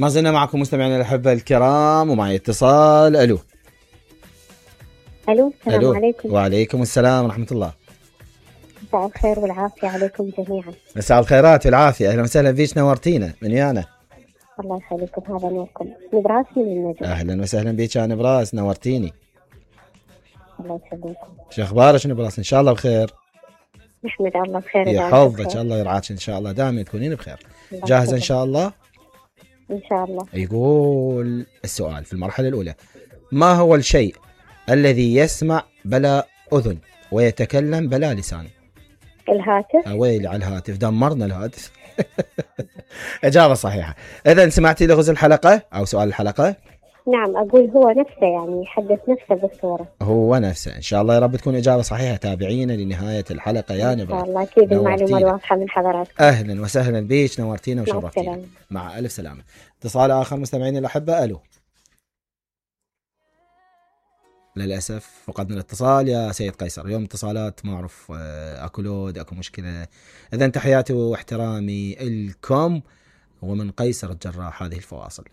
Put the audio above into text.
ما زلنا معكم مستمعينا الأحبة الكرام، ومعي اتصال. الو السلام عليكم. وعليكم السلام ورحمة الله. مساء الخير والعافية عليكم جميعا. مساء الخيرات والعافية، أهلا وسهلا فيك، نورتينا من يانا. الله يخليكم، هذا نوركم. نبراس من النجم. أهلا وسهلا بيك يا نبراس، نورتيني. الله يسلمكم. شو أخبارك نبراس؟ إن شاء الله بخير. نحمد الله بخير. يحفظك الله، يرعاك إن شاء الله، دائما تكونين بخير. جاهزة إن شاء الله؟ إن شاء الله. يقول السؤال في المرحلة الأولى: ما هو الشيء الذي يسمع بلا أذن ويتكلم بلا لسان؟ الهاتف. ويلي على الهاتف، دمرنا الهاتف. إجابة صحيحة. إذا سمعتي لغز الحلقة أو سؤال الحلقة؟ نعم، أقول هو نفسه، يعني يحدث نفسه بالصورة. هو نفسه إن شاء الله، يا رب تكون إجابة صحيحة. تابعينا لنهاية الحلقة يا نبرة. إن شاء الله، أكيد المعلومة الواضحة من حضراتكم. أهلا وسهلا بيش، نورتينا وشرفتينا. مع ألف سلامة. اتصال آخر مستمعين الأحبة. ألو. للأسف فقدنا الاتصال يا سيد قيصر. اليوم اتصالات ما أعرف، أكو لود، أكو مشكلة. إذن تحياتي واحترامي لكم، ومن قيصر الجراح هذه الفواصل.